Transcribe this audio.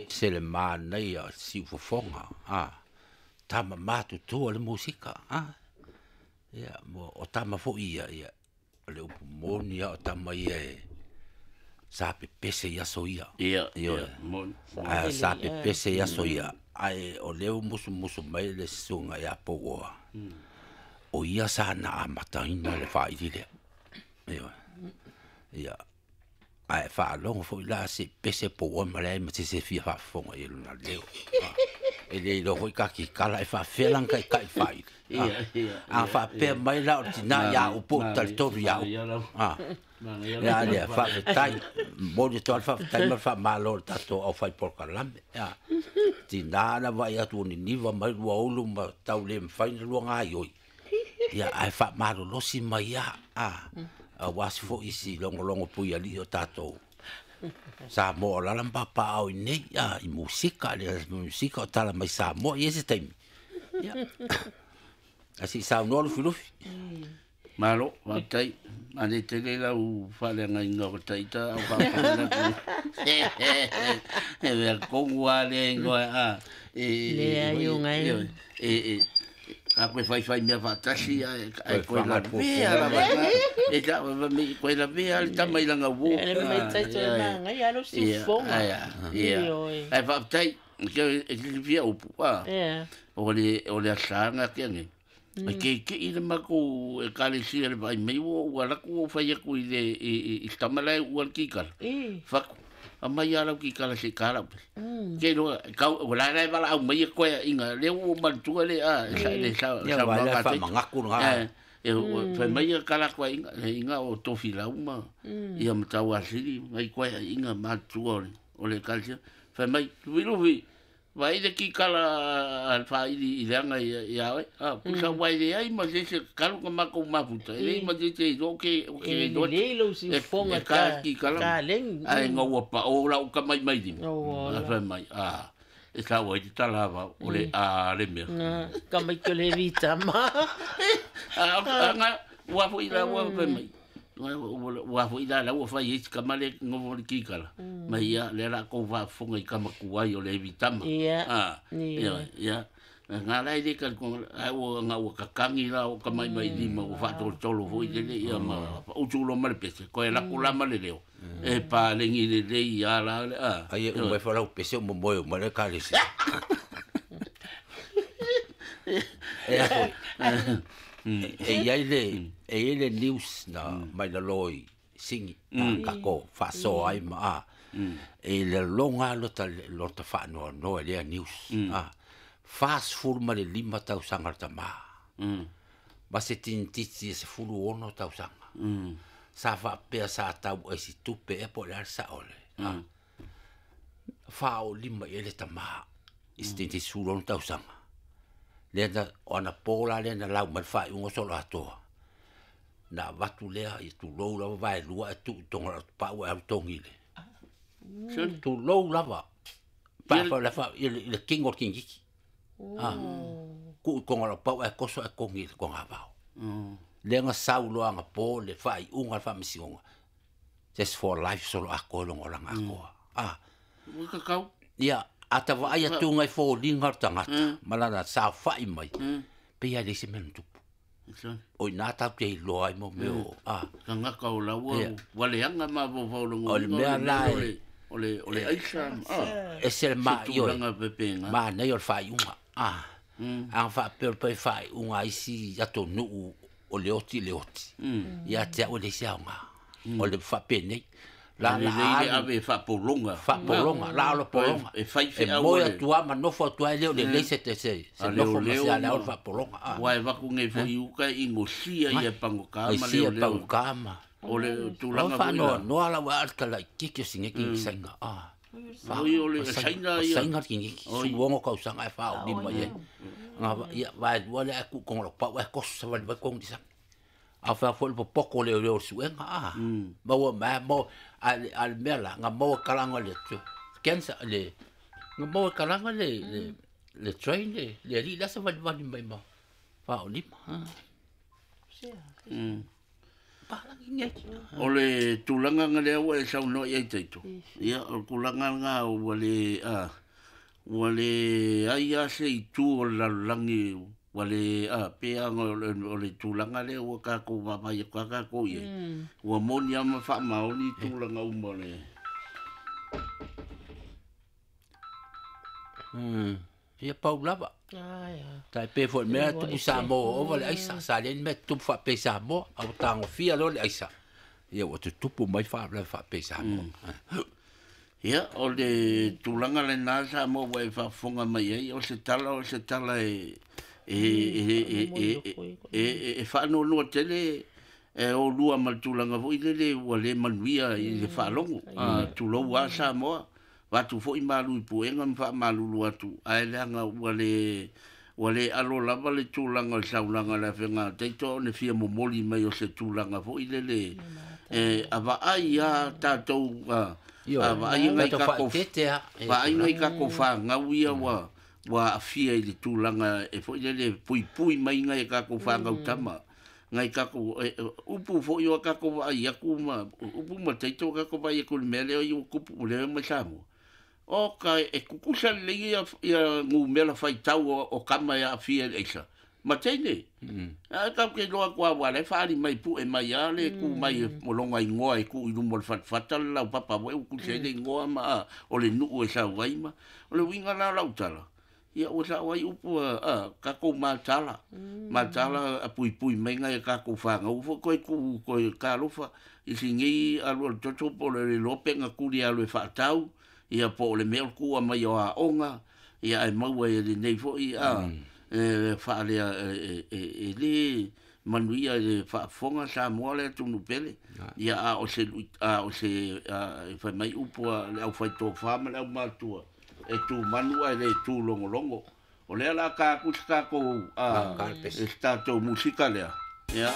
Se le manaia o siufofoga, a tama matutua le musika, a ia mo o tama foi ia, ia o le upu moni a o tama ia e sa pepese i aso ia. Ia, Ioe. ia, moni. Ae sa pepese i aso ia, ae o lea ua musumusu mai le susuga ia Pouoa, o ia sa na amataina le faili lea. Ioe. Ia, ae faalogo foi la se pese Pouoa ma leai ma se isi e fia faafofoga i lona leo. E le iloa foi kakikala e faafefea lana taitai i le faili. Ia, ia. A faapea mai la o le tina ia au po o talitonu ia au. A. Ia lea, faafetai. Momoli atu lava le faafetai ma le faamalo i le tatou aufai polokalame. Ia, tina na vaai atu ua niniva mai lua ulu ma tau le mafai ona lua gaoioi. Ia, ae faamalolosi mai lava, a, aua se foi si logologo puialii o tatou Samoa o alaala ma papaaao i inei, a, i musika, le musika o tala mai Samoa. E i ai se taimi, ia, ae se i saunoa Lufilufi. Malo, faafetai. Manaia tele lau faaleagaina o ta ita au faafofoga atu. E mea tonu lava lea igoa a. E Leai o ngai. E a koe faifai mea faatasi ae Toe koe lavea lava. E ta me koe lavea le tama i lana uo. Le mai tai toe magai alo siufofoga. Ia. Ioe. Ae faafetai. E silafia upu. A. Ia. O le asaga ke nei. E keike'i le makou ekalesia le vaai mai ua ou alu atu ua ou fai atu i le i le tama la e uua le kikala. Fatu, aumai lava lau kikala se i ta lau pese. Ke iloa, tau, o la e valaau mai e koeaʻiga, lea ua ou manatua le a, le Ia, saunoaga vaai la a Taito. faamagaku lena. E fai mai e kala koeaʻiga, le iga o Tofilau ma ia Matauasili, nai koeaʻiga matutua o le ekalesia. Fai mai, Lufilufi, Vaai le kikala a le faaili i leaga ia oe. A, pusa ua e leai ma se isi e talu ona matou mafuta, e leai ma se isi e iloa ou te E iloa lelei lou e siufofoga ta kikala. taleni. Ae ina ua pao lau tamatamailima, Ola. ae fai mai, a, e sau ai le tala avao, o le a le mea. Ka mai ke le vitama. A, nga, ua foi la ua fai mai. Ua foi la la ua fai ai si tama lea e nofo i le kikala. Mai ia, lea o le a tou faafofoga i tama tuai o le Evitama. Ia. A, Ia. ia. Nga la e le talitonu, ae ua nga ua kakagi la o tamatamailima ua faatolotolo foi lele ia ma utu loa ma le pese, toe lako la ma le leo. E paleni lelei lava la le a. Ai e uma ifo lau pese o momoe uma le ekalesia. E a foi. E i ai le e i ai le news na mai lalo i Sini a tatou faasoa ai ma a e laloga lava lota lota faanoanoa i lea news a 45 tausaga le tama ma se tinititi e 16 tausaga sa faapea sa tau ai se tupe ea po o le a le sao le a 45 i ai le tama i se tinititi 16 tausaga. Lea na, o ana po la lea na lau mai le faaiuga o Soloatoa. Na avatu lea, ia tulou lava vaelua ae tuu i toga o le pau ae alu togi i le. Tulou lava. Pa fa la fa i le kingo o le kinigiti. Ah. Tuu i toga o le pau ae toso ae togi i le togavao. Lea na sau loa anapo le faaiuga a le Faamasinoga. Just for life Soloatoa i lona olaga atoa. Ah. Ua tatau. Ia, a ta vaai atu ngai foliga o le tagata ma lana saofai mai, pei lava e leai se mea na tupu. O i ina tatou te iloa ai mo mea o, a. Tagata o la ua ua leaga mafaufau O le mea la e o le aisa, a. Ese le Se tulaga pepega. manaia o le faaiuga, a. A na faapea o le pai faaiuga a isi atunuu o le oti i le oti, ia te au e leai se aoga. O le faapenei, la la lelei le ave e faapologa. Faapologa, la o le pologa. E fai feau. E moe atu lava ma nofo atu lava, e le o lelei se nofo ma se ala o le faapologa. Aua e avatu nei foi i uka e inosia ia pagota ma leoleo. Inosia pagota ma. O le tulaga foi la. O faanoanoa la ua le talaititi o si nei kinisaina. Oi o le saina ia. O saina le kiniki, 16 tausaga ae 45 i ai. Ia, vaelua lea ae tuu i toga o lau pau ae toso savali mai tonu i le sami. A fai foi le popoto o leoleo o le suega, a maua mai lava, a o le mea la, na maua e kalaga le cancer, le, na maua e kalaga le, le train le, le alii la e savalivali mai ma 45. palagi nei. O le tulaga na lea ua e saunoa i ai Taito, ia o le tulaga lena ua le, ua leai lava se itu o le lalolagi ua le, pei lava ona o le tulaga lea ua tatou vaavaai atu lava tatou i ai, ua moni lava ma faamaoni tulaga uma o le... Ia pau lava. Tai pei foi le mea tupu i Samoa ua ova le aisa, sa leai ni mea tutupu faapea i Samoa, a ua tagofia loa le aisa, ia ua tutupu mai faalavelave faapea i Samoa. Ia, o le tulaga lena Samoa ua e faafofoga mai ai, o se tala, o se tala e e e e e faanoanoa tele e olua ma le tulaga foi lele ua le manuia i le faalogo. Tulou lava Samoa, avatu foi malu i puega ma faamalulu atu, ae leaga ua le ua le alo lava le tulaga o le saunoaga a le Afioga ia Taito ona fia momoli mai o se tulaga foi lele e vaai lava tatou, a vaai nai tatou vaai nai tatou fanau ia ua ua aafia i le tulaga e foi lele puipui mai nai a tatou fanau tama, nai tatou upu foi o tatou vaai atu ma upu ma Taito o tatou vaai atu i le mea lea ua tupu lea mai Samoa. Oka e tutusa lelei ia numera faitau o tama e aafia i le aisa ma teine. Ae tatou te iloa atu lava aua o la e faaali mai pue mai lava le tu mai o lona igoa e tuu i luma o le fatafata le laupapa foi ua tusi ai le igoa ma o le nuu e sau ai ma. O le uiga la o lau tala, ia ua sao ai upu a tatou matala, matala a puipui mai nai a tatou fanau foi toe tuu toe talofa i sinei alu alu toto po o le iloa pe na tuli e alu e faatau, ia po o le mea o le tuua mai o aoga, ia ae maua e lenei foi e faalea e le manuia i le faafofoga Samoa le atunuu pele. Ia a o se a o se e fai mai upu a le aufaitofa ma le aumatua, e tu manu ae le tu logologo. O lea o le a ta atu se tatou se tatou musika lea. Ia.